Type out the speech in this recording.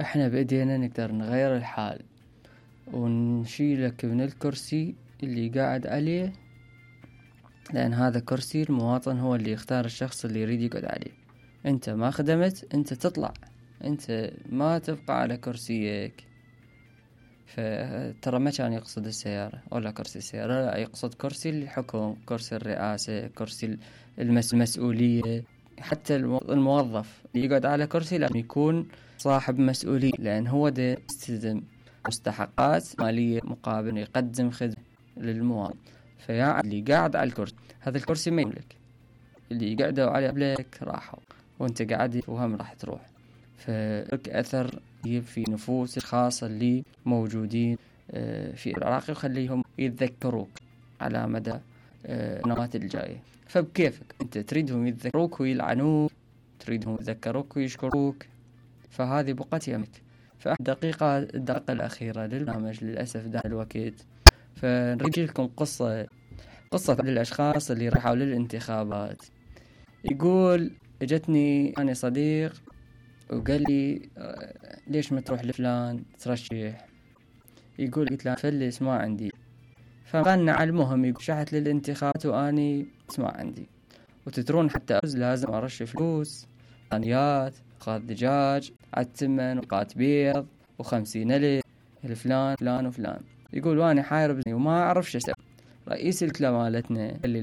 احنا بايدينا نقدر نغير الحال ونشيلك من الكرسي اللي قاعد عليه، لان هذا كرسي المواطن هو اللي يختار الشخص اللي يريد يقعد عليه. انت ما خدمت، انت تطلع، انت ما تبقى على كرسيك. فترى ما كان يقصد السيارة ولا كرسي السيارة، لا، يقصد كرسي الحكم، كرسي الرئاسة، كرسي المسؤولية. حتى الموظف اللي يقعد على كرسي لازم يكون صاحب مسؤولية، لأن هو ده يستلزم مستحقات مالية مقابل يقدم خدمة للمواطن. فيا اللي قاعد على الكرسي، هذا الكرسي ما يملك، اللي قعدوا عليه قبلك راحوا وانت قاعد وهم راح تروح. فلك أثر في نفوس الخاصة اللي موجودين في العراق، وخليهم يتذكروك على مدى السنوات الجاية. فبكيفك انت تريدهم يتذكروك ويلعنوك، تريدهم يتذكروك ويشكروك، فهذه بقت يمك. الدقيقة الأخيرة للبرنامج للأسف ده الوقت، فنريد لكم قصة للأشخاص اللي راحوا للانتخابات. يقول اجتني أنا صديق وقال لي ليش ما تروح لفلان ترشح؟ يقول قلت له فلس ما عندي. فقالنا على المهم، يقول شحت للانتخابات واني ما عندي، وتترون حتى أفوز لازم أرش فلوس، ثانيات، قات دجاج، عالثمن، وقات بيض، و50 ألف الفلان فلان وفلان. يقول واني حاير وما أعرف شو أسوي. رئيس الكتلة مالتنا اللي